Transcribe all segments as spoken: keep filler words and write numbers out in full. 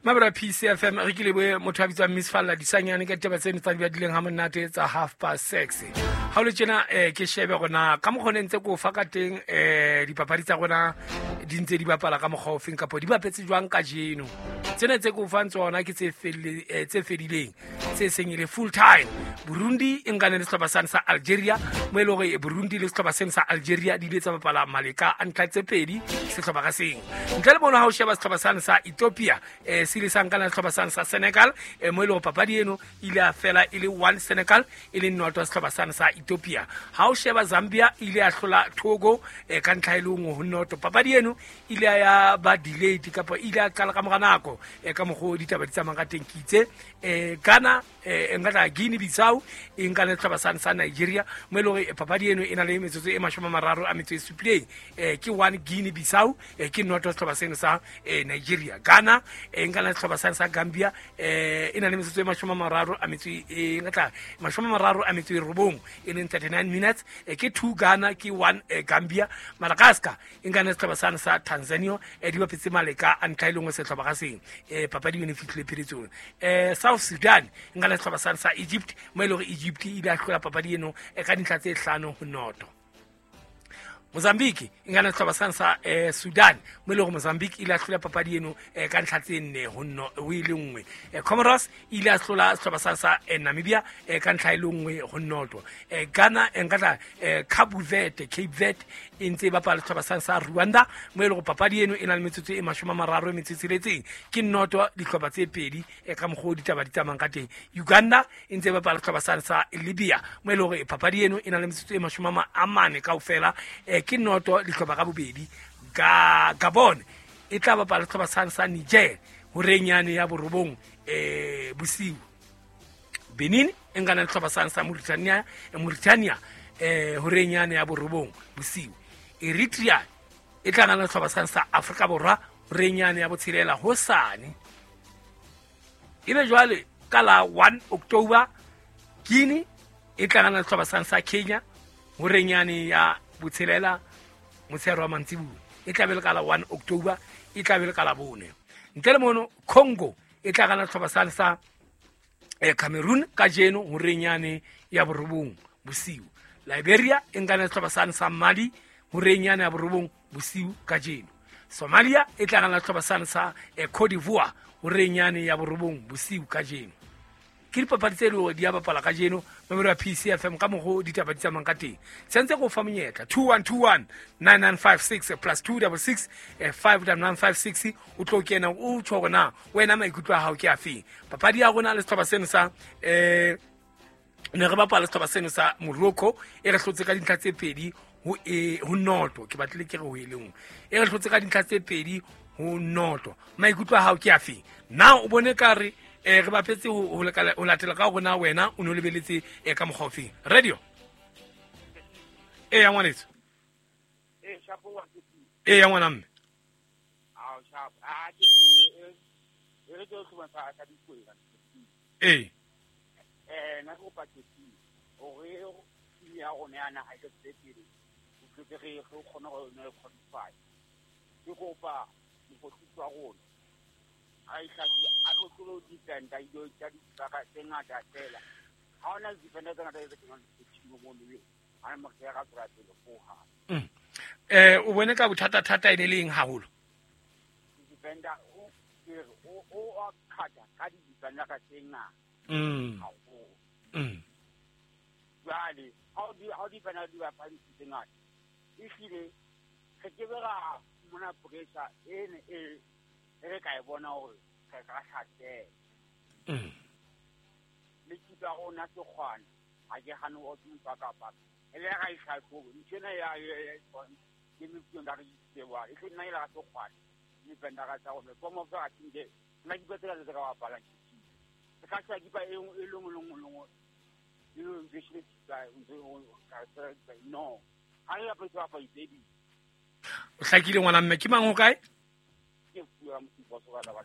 Mabra P C F M re ke lebohe motho a bitswang Miss Falla Disanyane ka ditaba tseno tsa di badileng ha monate tsa half past six. Ha o le tjena eh ke shebe rona ka mokgwa ne ntse ko fa ka teng eh dipapadi tsa rona di ntse di bapala ka mokgwa ofeng kapa di bapetse jwang kajeno. Tsena tse ko fang tsona ke tse felle tse fedileng tse seng e le full time. Burundi e nkane le sehlopha sane sa Algeria, mo e le hore Burundi le sehlopha seno sa Algeria di ile tsa bapala maleka a ntlha tse pedi sehlopha ka seng. Ntle le mono ha o sheba sehlopha sane sa Ethiopia eh se ile sa nkana le sehlopha sane sa Senegal, eh mo e le hore papadi eno ile a fela e le one Senegal e le noto sehlopha sane sa Ethiopia. Ha o sheba Zambia ile a hlola Togo eh ka ntlha e le nngwe ho noto. Papadi eno ile ya ba delayed kapa ile a qala ka mora nako eh ka mokgwa ditaba di tsamayang ka teng. Ke itse eh Ghana eh nka Guinea Bissau e nka le sehlopha sane sa Nigeria, mo e le hore papadi eno e na le metsotso e mashome a mararo a metso e supileng. Eh ke one Guinea Bissau eh ke noto sehlopha seno sa eh Nigeria. Ghana e nka le sehlopha sane sa Gambia eh e na le metsotso e mashome a mararo a metso e nka mashome a mararo a metso e robong e leng thirty-nine minutes. Eh ke two Ghana ke one eh, Gambia. Madagascar e nka le sehlopha sane sa Tanzania eh di bapetse maleka a ntlha e le nngwe sehlopha ka seng. Eh papadi eno e fihlile pheletsong. Eh South Sudan e nka le sehlopha sane sa Egypt, mo e le hore Egypt e ile a hlola papadi eno e ka dintlha tse hlano ho noto. Mozambique e nka le sehlopha sane sa eh, Sudan, mo e le hore Mozambique e ile a hlola papadi eno eh, ka ntlha tse nne ho no ho e le nngwe. Eh, Comoros e ile a hlola sehlopha sane sa eh, Namibia eh, ka ntlha e le nngwe ho noto. Eh, Ghana e nka tla eh, Cape Verde, Cape Verde e ntse e bapala sehlopha sane sa Rwanda, mo e le hore papadi eno e na le metsotso e mashome a mararo e metso e tsheletseng. Ke noto dihlopha tse pedi eh, ka mokgwa o ditaba di tsamayang ka teng. Uganda e ntse e bapala sehlopha sane sa Libya, mo e le hore papadi eno e na le metsotso e mashome a mane kaofela eh, ke noto dihlopha ka bobedi. Ga Gabon e tla bapala sehlopha sane sa Niger horeng yane ya borobong eh bosiu. Benin e nkana le sehlopha sane sa Mauritania, Mauritania eh horeng yane ya borobong bosiu. Eritrea e tla nkana le sehlopha sane sa Afrika Borwa horeng yane ya botshelela hosane. Ebe jwale ka la one October Guinea e tla nkana le sehlopha sane sa Kenya horeng yane ya botshelela motshehare wa mantsibuya. E tla be le ka la one October, e tla be le ka la bone. Ntle le mono Congo e tla kana sehlopha sane sa eh, Cameroon kajeno horeng yane ya borobong bosiu. Liberia e nkana sehlopha sane sa Mali horeng yane ya borobong bosiu kajeno. Somalia e tla kana sehlopha sane sa eh, Cote d'Ivoire horeng yane ya borobong bosiu kajeno. Ke dipapadi tse leng hore di a bapala kajeno memori ya P C F M ka mokgwa ditaba di tsamayang ka teng. Sentse go fa monyetla two one two one nine nine five six plus two double six five nine five six o tlo kena o tjho hore na wena maikutlo a hao ke afeng. Papadi ya rona le sehlopha seno sa eh ne re bapala sehlopha seno sa Morocco e re hlotse ka dintlha tse pedi ho e ho noto. Ke batlile ke re ho e le nngwe. E re hlotse ka dintlha tse pedi ho noto. Maikutlo a hao ke afeng? Na o bone ka re eh re bapetse ho ho latela ka hore na wena o no lebeletse e ka mokgwa ofeng. Radio e ya ngwanetso e shapo wa ke e ya ngwana mme a o shapo a ke e re ke tlo ba ka dikwela e eh na go pa ke o re ya rona ya naha e tse pele o tle re re kgone go ne qualify ke kopa mokgotsi wa rona a itlhatlhobe a tlo tlo defender dilo tsa dibaka tse ngata fela. Ha ona defender tse ngata tse kenang team mo le ha mo ke ra tswa pele go ha eh o bone ka bothata thata e ne leng haholo defender o ke o o a khata ka di defender ka tse ngata mm mm jwale ha di ha di defender di ba tse ngata e hlile re ke bera mona pressure e ne e re ka e bona hore re ka hlatela mm le kipa rona sekgwana ha ke hane o tsupa kapa e le ga itlhatlhobe ntho ena ya ke meputso nka re itsewa e tle nna e la sekgwana le benda ka tsa rona komo fa ke nna ke tsela tse ka bapalang ke ka tsa kipa e e lengwe lengwe lengwe e le ntse ka ntse ka no ha re ya pa pa baby o hlakile ngwana mme ke mang ho kae?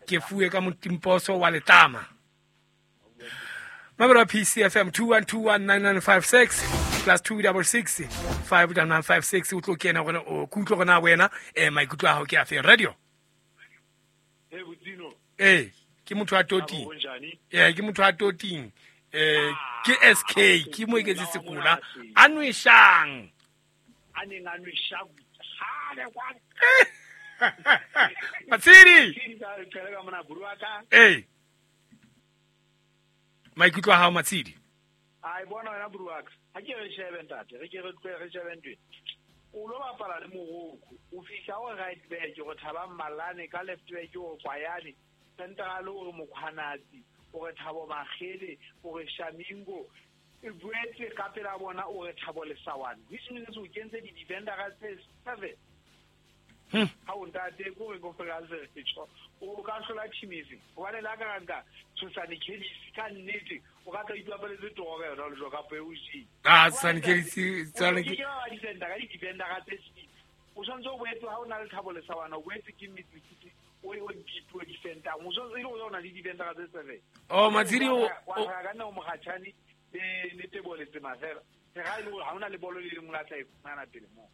Ke fuwe ka motimposo wa Letama. Mabra P C F M two one two one nine nine five six plus two double six five nine five six o tlo kena gona o kutlo gona wena eh maikutlo a hao ke a fe radio. Eh Botino. Eh Ke motho a toting. Eh ke motho a toting. Eh ke S K ke mo iketse sekola a nweshang. A neng a nweshang. Ha le kwa. Matshidi. Eh. Maikutlo a hao Matshidi. Ai bona wena Bruaka. Ha ke re shebe ntate, re ke re tlohe re shebe ntwe. O lo bapala le Morocco, o fihla o right back go thaba Malane ka left back o Kwayane, central o re Mokgwanatsi, o re Thabo Makgele, o re Shamingo, e boetse ka pela bona o re Thabo Lesawane. Which means o kentse di defender tse seven. Ha o ntate ko re go fela se tjho. O ka hlola team efe? Hobane la ka nka Tshosane Kelisi ka nnete o ka tla ipapaletse toro ka yona le jwa ka peo ji. Ah Tshosane Kelisi tsane ke ke ba defender ka di defender ka tse six. O tshwanetse o boetse ha o na le Thabo Lesawana o boetse ke midfield o o deep defender. O tshwanetse ile o na le defender ka tse seven. Oh Matshidi o ka nna o mogatshane le le Tebo Letsema fela. Ha ona le bolo le lengwe la tla e fumana pele mo.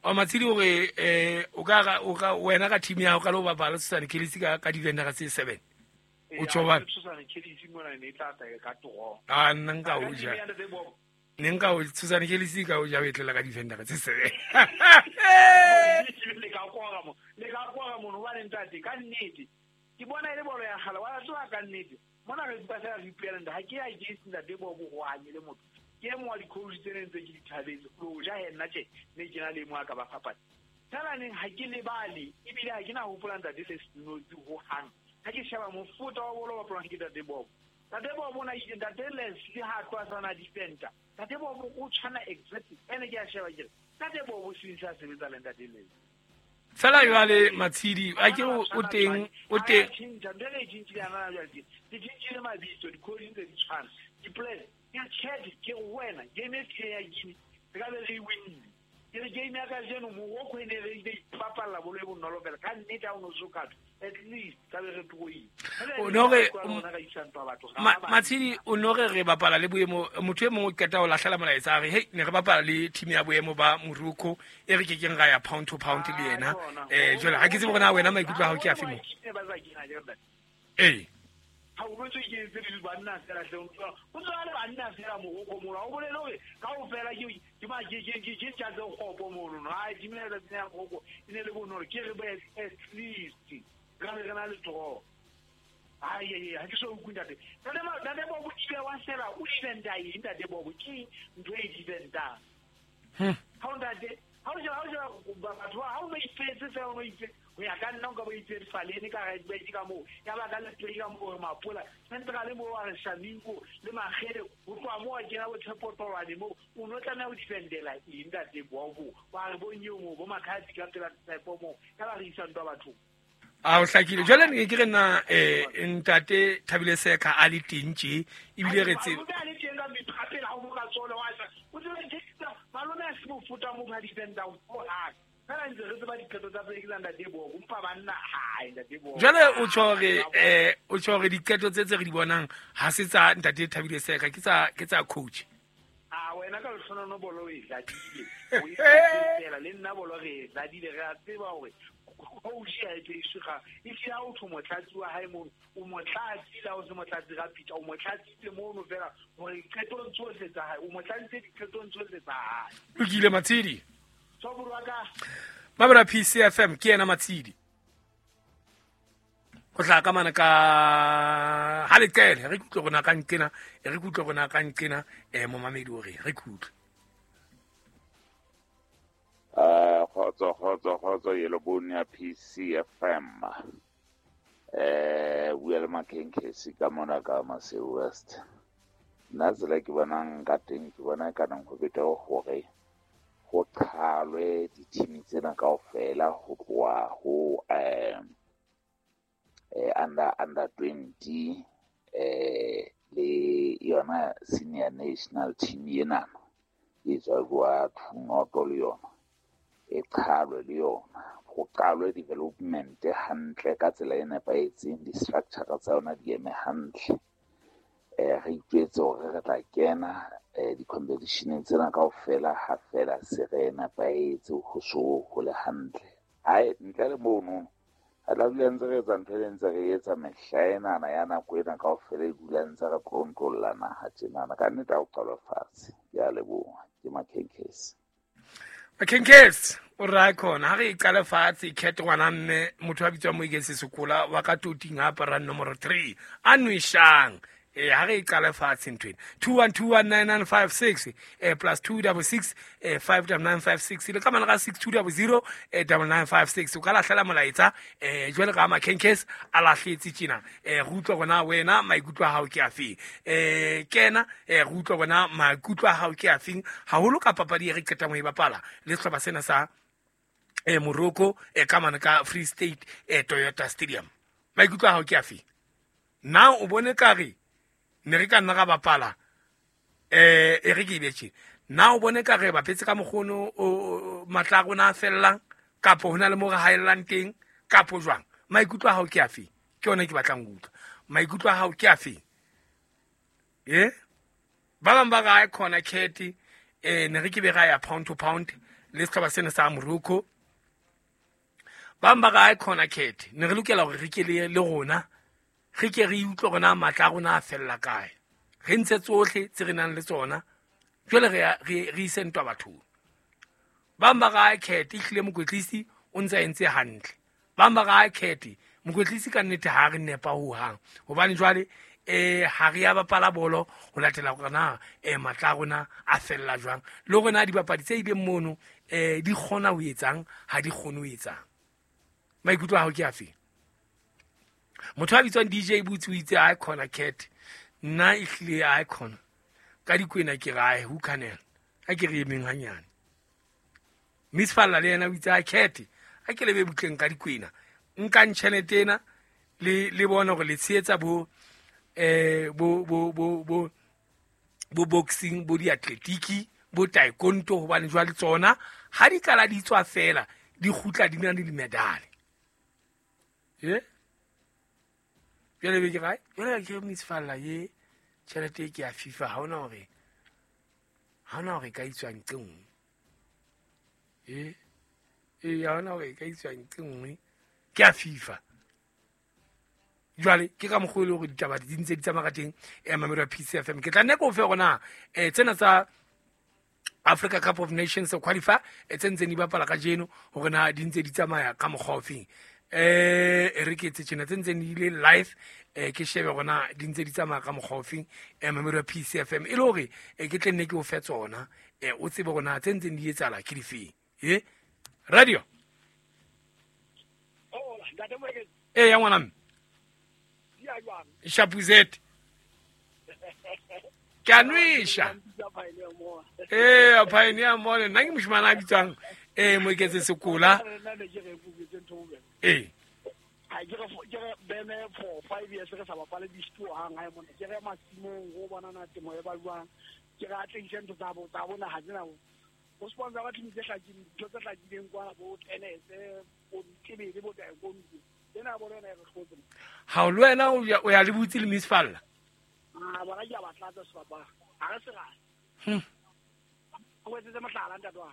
O Matshidi o re eh o ka o ka wena ka team ya hao ka lo bapala Tshosane Kelisi ka ka defender tse seven. O tjho Tshosane Kelisi mona ne tla tla ka toro. Ah nna nka o ja. Ne nka o Tshosane Kelisi ka o ja o etlela ka defender tse seven. Le ka kwara mo. Le ka kwara mo no ba ntate ka nnete. Ke bona ile bolo ya kgale wa tswa ka nnete. Mona re tswa re ipuela ntate ha ke ya ke ntate bo bo go anye le motho. Ke mo wa di-coach tse neng tse ke di thabetse lo ja he nna tje ne ke na le mo a ka ba fapana fela neng ha ke lebale ebile ha ke na hopola ntate se senotsi ho hang ha ke sheba mofuta wa bolo bapalwang ke ntate Bobo. Ntate Bobo na itse ntate Leslie ha tloha sana defender ntate Bobo o tshwana exactly ene ke a sheba ke ntate Bobo since a sebetsa le ntate Leslie. Fela jwale Matshidi a ke o teng o teng tjhintjha ntho e tjhintjhile ana jwale di tjhintjhile mabitso di-coach ntse di tshwana di-plan ke tjhete ke wena game e tlile ya Guinea re ka be re winne ke re game ya kajeno Morocco e ne re ile ipapalla bolo e bonolo fela ka nnete ha o no sokatho at least ka be re tloile o no re Matshidi o no re re bapala le boemo motho e mongwe o qeta ho lahlela molaetsa a re hey ne re bapala le team ya boemo ba Morocco e re ke keng ra ya pound to pound le yena eh jwale ha ke tsebe hore na wena maikutlo a hao ke afe mo eh ha o botse ke tse di banna fela hle o tswa le banna fela Morocco mo o bolele hore ka o fela ke ke ma ke ke ke tsa tse kgopo mono no ha di mela tsa ya Morocco e ne le bonolo ke re at least ka re na le tro ai ai ha ke so utlwe ntate ntate ntate Bobo ke wa sela o defender eng ntate Bobo ke ntho e defender ha o ntate ha o ja ha o ja batho ha o ba ipetse fela o itse ho ya ka nna o ka ba itse Falene ka right back ka moo ya ba ka left ka moo Mapola central mo wa re Shamingo le Makgele ho tloha moo a kena bo Tshepo Tolwane moo o no tlameha ho defendela eng ntate Bobo wa re bo nyeo moo bo Makhadi ka pela Tshepo moo ya ba re isa ntwa bathong. A o hlakile jwale ne ke re nna eh ntate Thabile Seka a le teng tje ebile re tse a le teng ka mephapela ha o ka tsole wa sa o tsebe tsa malome a se mofuta mo ba defender o ha fela ntse re tseba diqeto tsa pele ke tsa ntate Bobo mpa banna ha ntate Bobo jwale o tjho re eh o tjho re diqeto tse tse re di bonang ha se tsa ntate Thabile Seka ke tsa ke tsa coach. Ah wena ka lehlono bolo o e tladile o e fela le nna bolo re e tladile re a tseba hore coach ya e tshega e tlile ha o tho motlatsi wa hae mono o motlatsi la o se motlatsi ga Peter o motlatsitse mono fela hore diqetong tsohle tsa hae o motlatsitse diqetong tsohle tsa hae. Lokile Matshidi Soburu ka Mabra P C F M ke yena Matshidi go tla ka mana ka ha le qele re kutlwe rona ka nkena re kutlwe rona ka nkena eh momamedi o re re kutlwe. Eh khotso khotso khotso yelo bone ya P C F M eh bua le Makenkesi ka mona ka Maseo West. Nna tsela ke bonang ka teng ke bona ka nang ho beta hore ho qhalwe di-team tsena kaofela ho tloha ho eh eh under under twenty eh le yona senior national team ena e tswa kwa Thunoto le yona e qhalwe le yona ho qalwe development hantle ka tsela e nepahetseng, di-structure tsa yona di eme hantle. Eh re itjwetse hore re tla kena eh di-competition tsena kaofela ha fela se re nepahetse ho so ho le hantle. Ai ntle le mono Re tla dula ntse re etsa ntho e ntse re etsa mehla enana ya nako ena kaofela e dula ntse re tlontlolla naha tjenana. Ka nnete ha o qalwe fatshe. Ke a leboha. Ke Makhenkesi. Makhenkesi o ra khona ha re e qale fatshe cat ngwana mme motho a bitswang Moeketsi Sekola wa ka toting a aparang nomoro three a nweshang. Eh ha re e qale fatshe ntho ena two one two one nine nine five six eh plus two double six eh five double nine five six le ka mana ka six two double zero eh double nine five six o ka lahlela molaetsa eh jwale ka Makhenkesi a lahletse tjena eh re utlwa rona wena maikutlo a hao ke afeng eh kena eh re utlwa rona maikutlo a hao ke afeng haholo ka papadi e re qetang ho e bapala le sehlopha sena sa eh Morocco eh ka mana ka Free State eh Toyota Stadium. Maikutlo a hao ke afeng? Na o bone kare ne re ka nna ra bapala eh e re ke ibetse na o bone ka re bapetse ka mokgono o matla a rona a fellang kapo hona le mo re haellang teng kapo jwang? Maikutlo a hao ke afe? Ke yona ke batlang ho utlwa. Maikutlo a hao ke afe? Eh ba bang ba ra khona cat eh ne re ke be ra ya pound to pound le sehlopha sena sa Morocco. Ba bang ba ra khona cat ne re lokela hore re ke le le rona re ke re utlwe rona matla a rona a fella kae, re ntse tsohle tse re nang le tsona jwale re re re ise ntwa bathong. Ba bang ba ra cat ehlile mokwetlisi o ntse a entse hantle. Ba bang ba ra cat mokwetlisi ka nnete ha re nepa ho hang hobane jwale eh ha re ya bapala bolo ho latela hore na eh matla a rona a fella jwang le hore na dibapadi tse ileng mono eh di kgona ho etsang ha di kgone ho etsang. Maikutlo a hao ke afe? Motho a bitswang D J Boots o itse a khona cat nna ehlile a khona ka dikwena ke rae ho canel a ke re emeng hanyane. Miss Falla le yena o itse a cat a ke lebe butleng ka dikwena nkang tjhelete ena le le bona hore le tshehetsa bo eh bo bo bo bo bo boxing bo diatletiki bo taekwondo hobane jwale tsona ha di kala di tswa fela di kgutla di na le dimedale. Eh jwale be ke rae jwale ke Miss Falla ye tjhelete ke ya FIFA ha ona hore ha ona hore ka itswa ntle nngwe eh eh ha ona hore ka itswa ntle nngwe ke ya FIFA. Jwale ke ka mokgwa le hore ditaba di ntse di tsamaya ka teng eh mamelo ya P C F M. Ke tla nne ko fe rona eh tsena tsa Africa Cup of Nations qualify e tse ntseng di bapala kajeno hore na di ntse di tsamaya ka mokgwa ofeng. Eh e re ke tse tjena tse ntseng di ile live eh ke shebe rona di ntse di tsamaya ka mokgwa ofeng eh mamelo ya P C F M e le hore eh ke tle nne ke o fe tsona eh o tsebe rona tse ntseng di etsahala ke difeng. Eh radio oh ntate Moeketsi eh ya ngwana mme Shapuzet ke a nwesha eh pioneer mole nna ke moshimane a bitswang eh Moeketsi Sekola eh ha ke re ke re bene for five years re sa bapale disto hang ha mona ke re masimong go bona na temo e ba jwang ke re atlehise ntho tsa bo tsa bona ha tsena o sponsor ba team tse hlakileng ntho tse hlakileng kwana bo tennis bo tebele bo taekwondo tsena bo rena re hlotse ha o le wena o ya le butse le Miss Falla ah bona ke a ba tlatsa sebapa ha re se ra hm o etsetse mohlala ntate wa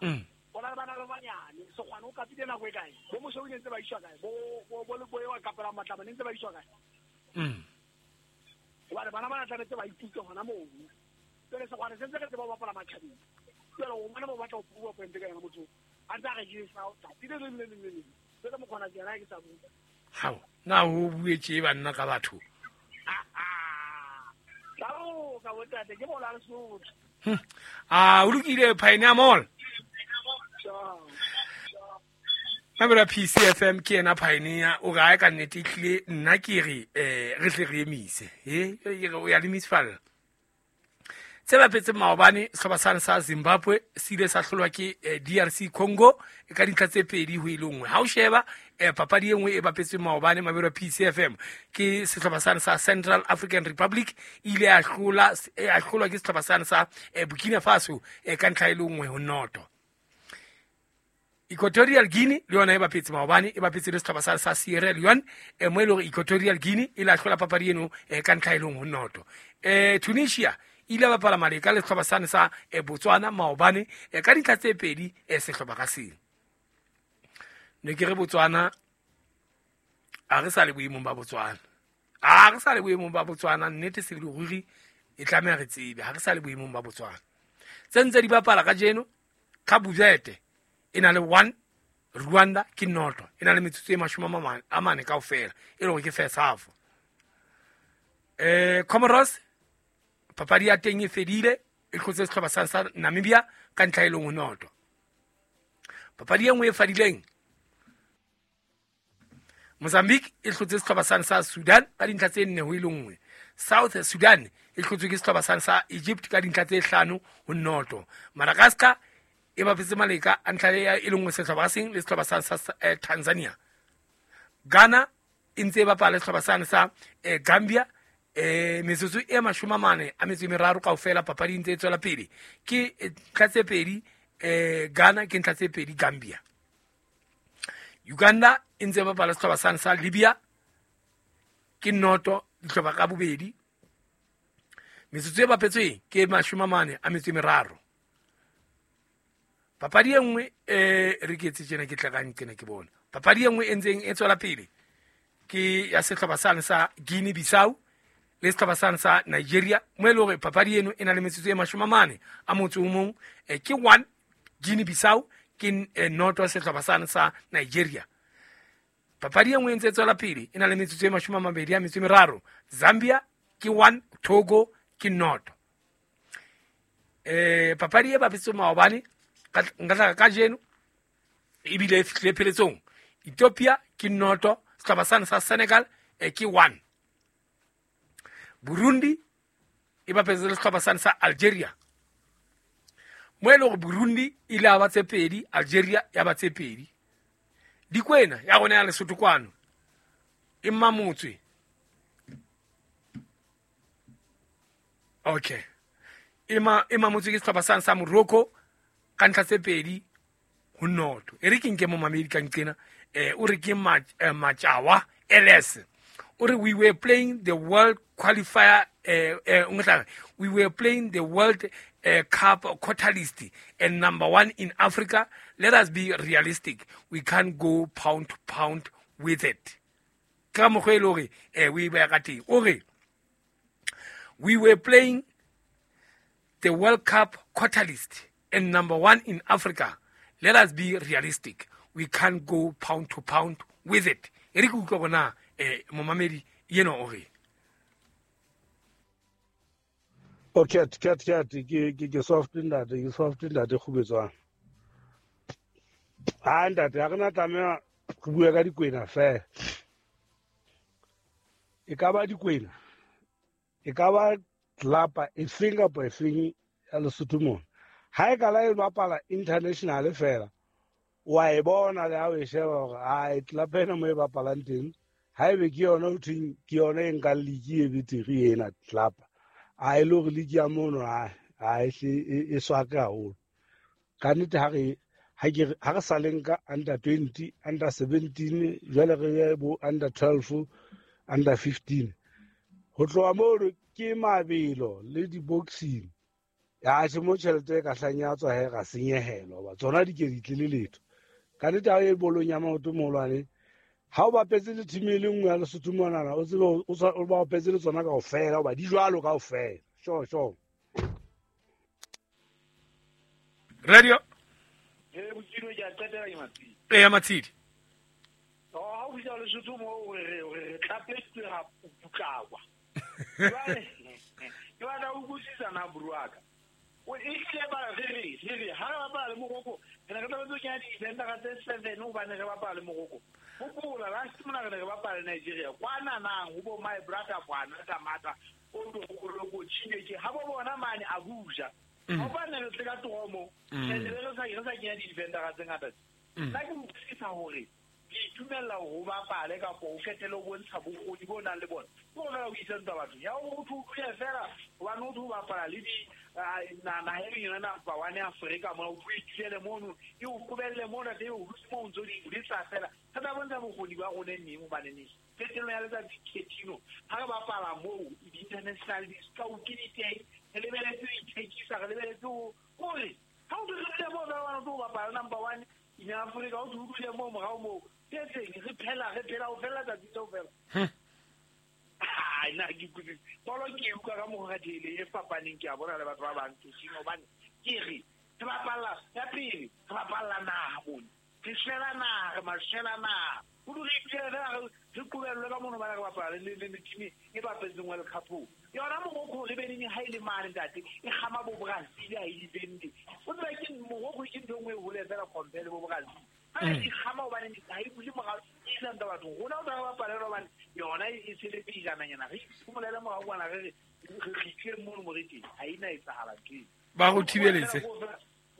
mm bona bana ba banyane so kgwana o kapile nako e kae bo mosho o ntse ba iswa kae bo bo bo le boe wa kapela matlama ne ntse ba iswa kae mm hobane bana ba tlametse ba ithute hona moo pele se kgwana se ntse re tseba ba bapala matjhabeng jwale o mona ba batla ho prove point ka yona motho a ntse a re ke sa tsatsi le le le le le le mokgona ke yena ke sa bua hao na ho buetse banna ka batho ka ka botate ke bola le Sotho ah o lokile Pioneer Mall Mamela P C F M ke yena Pioneer o re ka nnete ehlile nna ke re eh re tle re emise eh ke re o ya le Miss Falla tse bapetseng maobane sehlopha sane sa Zimbabwe se ile sa hlolwa ke D R C Congo ka dintlha tse pedi ho ile nngwe. Ha o sheba eh papadi e nngwe e bapetseng maobane mamelo P C F M ke sehlopha sane sa Central African Republic ile a hlola a hlolwa ke sehlopha sane sa Burkina Faso ka ntlha e le nngwe ho noto. Equatorial Guinea le yona e bapetse maobane e bapetse le sehlopha sa sa Sierra Leone e mo e le hore Equatorial Guinea e la hlola papadi eno ka ntlha e le nngwe ho noto. Eh Tunisia ile bapala maleka le sehlopha sane sa Botswana maobane ka dintlha tse pedi sehlopha ka seng. Ne ke re Botswana A re sa le boemong ba Botswana. A re sa le boemong ba Botswana, nnete se le ruri e tlameha re tsebe. Ha re sa le boemong ba Botswana. Tse ntse di bapala kajeno, Cabo Verde e na le one, Rwanda ke noto. E na le metsotso e mashome a mane kaofela, e le hore ke first half. Eh Comoros papadi ya teng e fedile, e hlotse sehlopha sa sa Namibia ka ntlha e le nngwe noto. Papadi e nngwe e fadileng, Mozambique e hlotse sehlopha sa sa Sudan ka dintlha tse nne ho e le nngwe. South Sudan e hlotswe ke sehlopha sa sa Egypt ka dintlha tse hlano ho noto. Madagascar e bapetse maleka a ntlha e le nngwe sehlopha seng le sehlopha sa sa Tanzania. Ghana e ntse e bapala sehlopha sa sa Gambia, eh metsotso e mashome a mane a metso e meraro kaofela, papadi ntse e tswela pele. Ke ntlha tse pedi eh Ghana, ke ntlha tse pedi Gambia. Uganda e ntse e bapala sehlopha sa sa Libya, ke noto dihlopha ka bobedi. Metsotso e bapetsweng ke mashome a mane a metso e meraro. Papadi e nngwe eh re ke etse tjena ke tla ka nqena ke bona. Papadi e nngwe e ntseng e tswela pele ke ya sehlopha sa sa Guinea Bissau le sehlopha sa sa Nigeria, mo e le hore papadi eno e na le metsotso e mashome a mane a motso o mong, ke one Guinea Bissau ke noto sehlopha sa sa Nigeria. Papadi e nngwe e ntse e tswela pele e na le metsotso e mashome a mabedi a metso e meraro, Zambia ke one, Togo ke noto. Eh papadi e bapetswe maobane nka tla kajeno ebile e fihlile pheletsong. Ethiopia ke noto, sehlopha sa sa Senegal ke one. Burundi e bapetse le sehlopha sa sa Algeria. Mo e le hore Burundi ile ya ba tse pedi, Algeria ya ba tse pedi. Dikwena ya rona ya Lesotho kwano e mamotswe. Okay. Ema e mamotswe ke sehlopha sa sa Morocco ka ntlha tse pedi ho noto. E re ke nke momamedi ka nqena, eh o re ke Matjawa L S. O re we were playing the world qualifier eh eh we were playing the World uh, Cup quarter list and number one in Africa. Let us be realistic. We can't go pound to pound with it. Ka mokgwa e le hore eh we ba ka teng. O re we were playing the World Cup quarter list and number one in Africa. Let us be realistic. We can't go pound to pound with it. E re ke utlwa bona eh momamedi yena o re O cat cat cat ke ke ke soft ntate ke soft ntate kgubetswang. Ha ntate ha re na tlameha re bue ka dikwena fela. E ka ba dikwena, e ka ba tlapa e feng kapa e feng ya Lesotho mona. Ha e ka la e bapala international fela, wa e bona le ha o e sheba hore ai tlapa ena mo e bapalang teng, ha ebe ke yona ho thweng ke yona e nkang league e betere ena tlapa. A e le hore league ya mono ha ha e e swake haholo. Ka nnete ha re ha ke ha re sa le nka under twenty, under seventeen, jwale re ye bo under twelve, under fifteen. Ho tloha moo ke mabelo le di-boxing. Ya tjhe mo tjhelete e ka hlang ya tswa he ra senyehelwa hoba tsona di ke di tle le letho. Ka nnete ha o ye bolong ya maoto moholwane, ha o bapetse le team e le nngwe ya Lesotho monana, o tsebe o bapetse le tsona kaofela hoba di jwalo kaofela. Sure, sure. Radio. Eh bokino ke a qetela ke Matshidi. Eh Matshidi. Oh ha o fihla Lesotho mo re re tlapetswe ra putlakwa. Jwale ke batla ho utlwisisa na buruaka. O ehlile ba re re re re ha re bapala le Morocco, re ne re tlametse ho kenya di-defendera tse seven hobane re bapala le Morocco. Hopola last mona re ne re bapala le Nigeria. Kwana nang ho bo my brother kwana Tamata o do Chineke ha bo bona mane Abuja. Hobane re tle ka toromo, re ne re sa re sa kenya di-defendera tse ngata. Nna ke utlwisisa hore ke itumella hore o bapale kapa o qetelle o bontsha bokgoni bo nang le bona. Ke hore o isa ntwa bathong. Ya hore o tlo fela hobane o tlo bapala le di naha e leng yona number one Afrika mona, o tlo itulele mono, e o qobelle mona teng, o dutse moo o ntso di letsa fela. Re tla bontsha bokgoni ba rona neng hobane neng. Qetellong ya letsatsi Ketino, ha re bapala moo di-international di-scout di teng, re lebeletse ho ithekisa, re lebeletse ho hore ha o dule moo fela hobane o tlo bapala number one In Africa o dule mo morao mo tse re phela re phela o fela tsatsi leo fela. Ai na ke kutlwe bolo ke utlwa ka mo ga dile e fapaneng ke a bona le batho ba bang ke sino bane ke re re bapalla ya pele re bapalla naha bone re shela naha re mashela naha o dule re re kubelwe ka mono ba re bapala le le team e bapetseng World Cup yona Morocco le beneng ha ile mane ntate e gama bo Brazil ha ile bende o tseba ke Morocco ke ntho engwe hole fela compare bo Brazil ha e gama o bane ha e bule morao e landa batho rona o tla bapala le bane yona e sele pejana nyana re phumolele morao kwana re re re tle mono morete ha ina e tsahala ke ba go thibeletse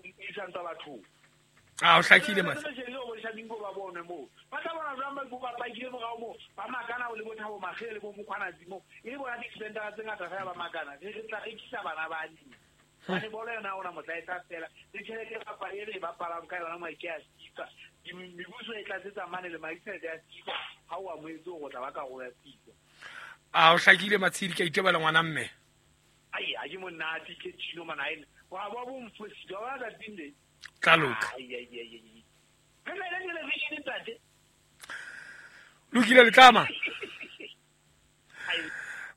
e santa batho a o hlakile mase ba bone mo ba tla bona jwang ba ba pakile morao mo ba makana o le bothabo magele bo mokgwana tsimo e le bona di-defendera tse ngata fela ba makana re re tla rekisa bana ba neng bane bolo yona ona motlaetsa fela le tjhelete e e re e bapalang ka yona maike ya FIFA mebuso e tlatsetsa mane le madi tjhelete ya FIFA ha o amohetse hore o tla ba karolo ya FIFA. A o hlakile Matshidi ke a itebala ngwana mme. Ai a ke monate ke tshino mana ene wa ba bo mfositse wa bona tsatsing le tla loka. Ai ai ai ai re le television ntate lokile letlama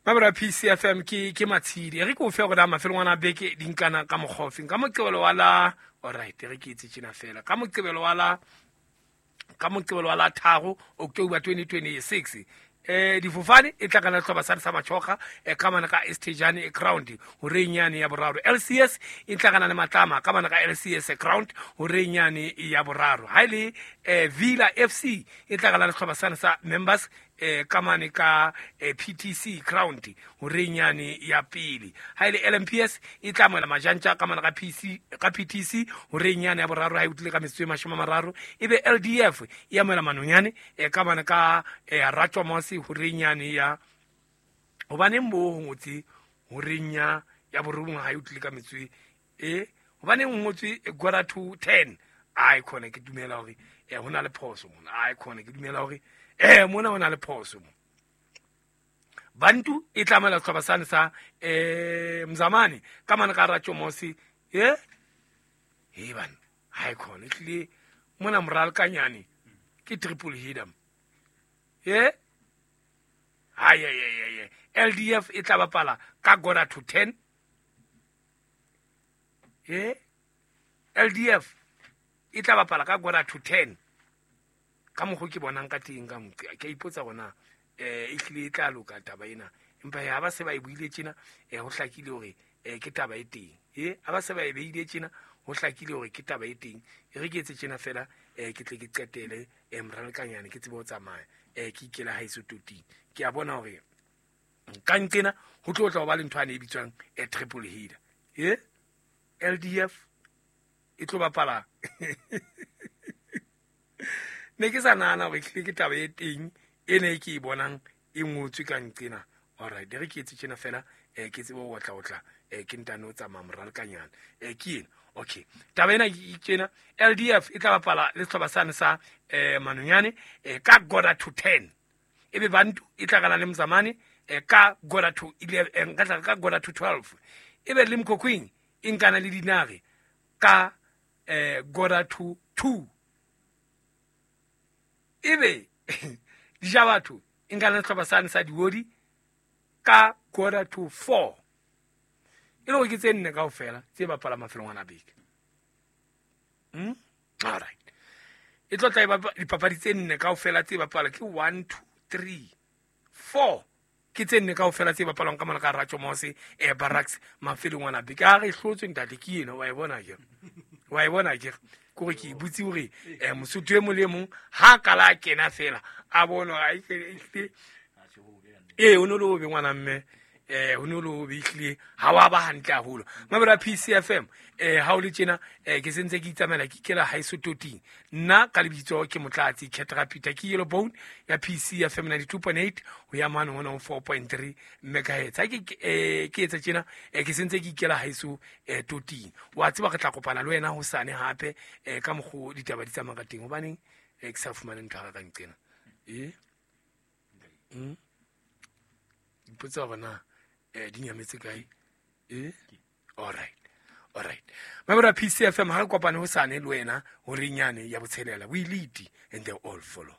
Mabra P C F M ke ke Matshidi re ke o fe gore a mafelong ana beke di nkana ka mogofeng ka moqebelo wa la all right re ke itse tjena fela ka moqebelo wa la ka moqebelo wa la tharo October twenty twenty-six eh difofane e tla kana tlhoba sa sa machoga e ka mana ka Estejane e ground horenyane ya boraro L C S e tla kana le matlama ka mana ka L C S ground horenyane ya boraro ha ile eh Villa F C e tla kana le tlhoba sa sa members eh ka mane ka P T C ground horenyane ya pele ha ile L M P S e tla moela majantja ka mana ka P C ka P T C horenyane ya boraro ha e utlile ka metsotso e mashome a mararo ebe L D F e amoela manonyane e ka mana ka Ratjomose horenyane ya hobaneng bo ho ngotse horenya ya borobong ha e utlile ka metsotso e hobaneng ho ngotswe quarter to ten ai khona ke dumela hore eh hona le phoso mona ai khona ke dumela hore eh mona hona le phoso mo Bantu e tlamela tlhoba sane sa eh Mzamane ka mana ka Ratjomose eh he bana ha khona tlile mona moral kanyane ke triple header eh ay ay ay ay L D F e tla bapala ka quarter to ten eh L D F e tla bapala ka quarter to ten ka mokgo ke bonang ka teng ka motse ke ipotsa gona eh e tlile e tla loka taba ena empa ya ba se ba e buile tjena eh ho hlakile hore eh ke taba e teng eh a ba se ba e beile tjena ho hlakile hore ke taba e teng e re ke etse tjena fela eh ke tle ke qetele eh moralekanyane ke tsebe ho tsamaya eh ke ikela ha iso toting ke a bona hore ka nqena ho tlo tla ho ba le ntho ane e bitswang e triple header eh L D F e tlo bapala ne ke sa nahana hore tlile ke taba e teng e ne ke e bonang e ngotswe ka nqena alright re ke etse tjena fela eh ke tsebe ho otla otla eh ke ntane o tsamaya moralekanyane eh ke ena okay taba ena ke tjena L D F e tla bapala le sehlopha sane sa eh manonyane eh ka quarter to ten ebe Bantu e tla kana le Mzamane eh ka quarter to eleven ka tla ka quarter to twelve ebe le Mkhokhwing e nkana le Dinare ka eh quarter to two ebe Dijabatho e nkana le sehlopha sane sa Diodi ka quarter to four e le hore ke tse nne kaofela tse bapala mafelong ana beke mm all right e tlo tla e dipapadi tse nne kaofela tse bapala ke one two three four ke tse nne kaofela tse bapalwang ka mona ka Ratjomose eh Barracks mafelong ana beke a re hlotswe ntate ke ena wa e bona ke wa e bona ke kore ke butse hore eh mosotho e mong le mong ha kala a kena fela a bona a e eh o no le o be ngwana mme eh ho no lo bihle ha wa ba hantle haholo mabra P C F M eh ha o le tjena eh ke sentse ke itsamela ke kela ha iso toting nna ka lebitso ke Motlatsi Ketra Peter ke Yellow Bone ya P C F M ninety-two point eight ho ya mane hona ho four point three megahertz ha ke eh ke etsa tjena eh ke sentse ke ikela ha iso eh toting wa tseba re tla kopana le wena ho sane hape eh ka mokgo ditaba di tsamaya ka teng hobaneng eh ke sa fumane ntho ka nqena eh mm ipotsa hore na eh di nyametse kae eh all right Alright, mamelo P C F M, ha re kopane hosane le wena horeng yane ya botshelela. We lead and they all follow.